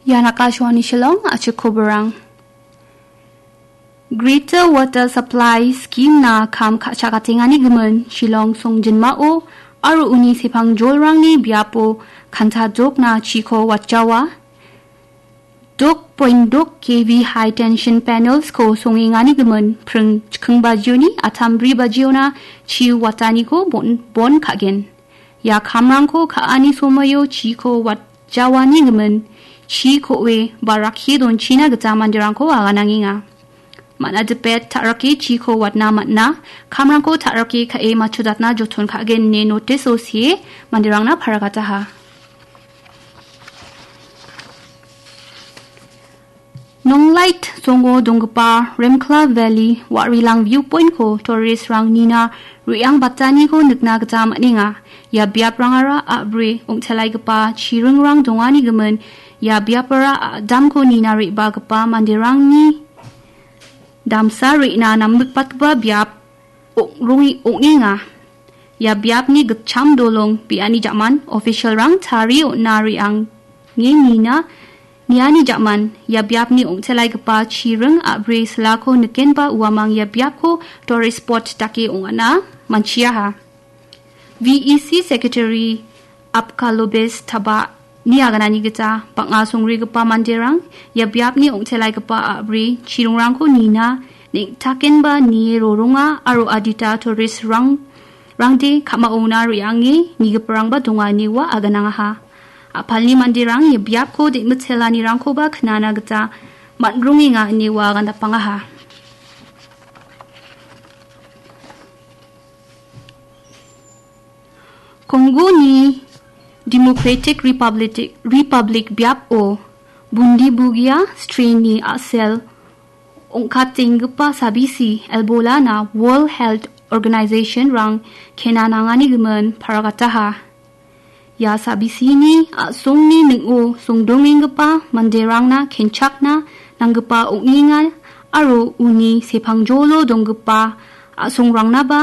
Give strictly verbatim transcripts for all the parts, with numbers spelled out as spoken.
Ian Akashvani Shillong, a·chik koborang. Greater Water Supply Scheme-na kam ka·chakatengani gimin Shillong songjinmao aro uni sepangjolrangni biapo kanta dokna chiko watjawa. Dok point dok K V high tension panels-ko songengani gimin pring chikking bajioni atam bri bajiona chi wataniko bon, bon ka·gen. Ia kamrangko ka·ani somoio chiko watjawani gimin chi ko·e ba rakkie donchina gita manderangko aganangenga. Man·a dipet ta·rake chiko watna man·a, kamrangko ta·rake ka·e matchodatna joton ka·gen ine notice-o see manderangna paragataha. Nonglait songo donggipa Remkla Valley Wa·rilang Viewpoint-ko tourist-rang nina re·angbataniko nikna gita man·enga. Ia biaprangara a·bri ong·telaigipa chiringrang dongani gimin ia biapara a·damko nina re·bagipa manderangni damsa re·na namnikbatgipa biap ong·, ong·enga. Ia biapni gitcham dolong biani jaman official-rang tarie on·a re·ange nina niani jaman ia biapni ong·telaigipa chiring a·bri silako nikenba uamang ia biapko tourist spot dake ong·ana manchiaha. V E C Secretary Apkalobes Taba ni aganani gita bang·a songrigipa manderang ia biapni ong·telaigipa a·bri chiringrangko nina neng·takenba nie roronga aro adita tourist-rang, rangde ka·maona re·ange nigiparangba donga ine ua aganangaha. A·palni manderang ia biapko de·mitelanirangkoba knana gita man·rongenga ine ua agandapangaha. Kongoni Democratic Republic, Republic biapo Bundibugia strain-ni a·sel ong·katenggipa sabisi Ebola-na World Health Organization-rang kena nangani gimin paragataha. Ia sabisini a·songni ning·o songdongenggipa manderangna kenchakna nanggipa ong·enga aro uni sepangjolo donggipa a·songrangna ba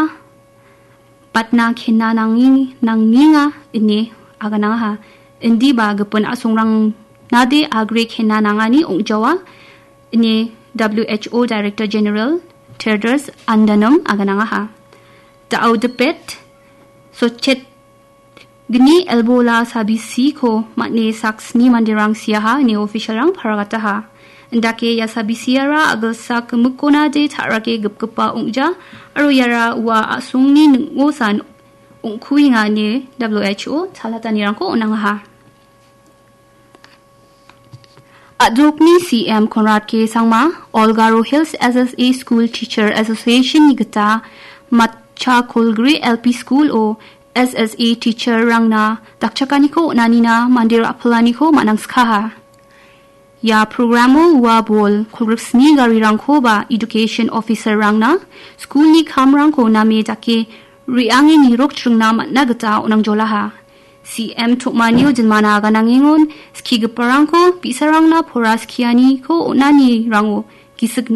batna kena nangi-, nangenga ine aganangaha. Indiba gipin a·songrangnade agre kena nangani ong·jawa ine W H O Director General Tedros Adhanom aganangaha. Da·o dipet sochet gni Ebola sabisiko man·e saksni manderang siaha ine official-rang paragataha. Indake ia sabisiara a·gilsak gimikkonade ta·rake gipgipa ong·ja aro iara ua a·songni ning·osan ong·kuenga ine W H O chalatanirangko on·angaha. A·dokni C M Conrad K Sangma, All Garo Hills S S A School Teacher Association-ni gita Matcha Kolgre L P School-o S S A teacher-rangna dakchakaniko on·anina mande ra·pilaniko man·angskaha. Ia programo ua bol kolgrikni garirangkoba education officer-rangna school-ni kamrangko name dake re·ange nirok chringna man·a gita on·angjolaha. C M tom·anio jinmana aganangengon, skigiparangko bi·sarangna pora skianiko on·anirango gisik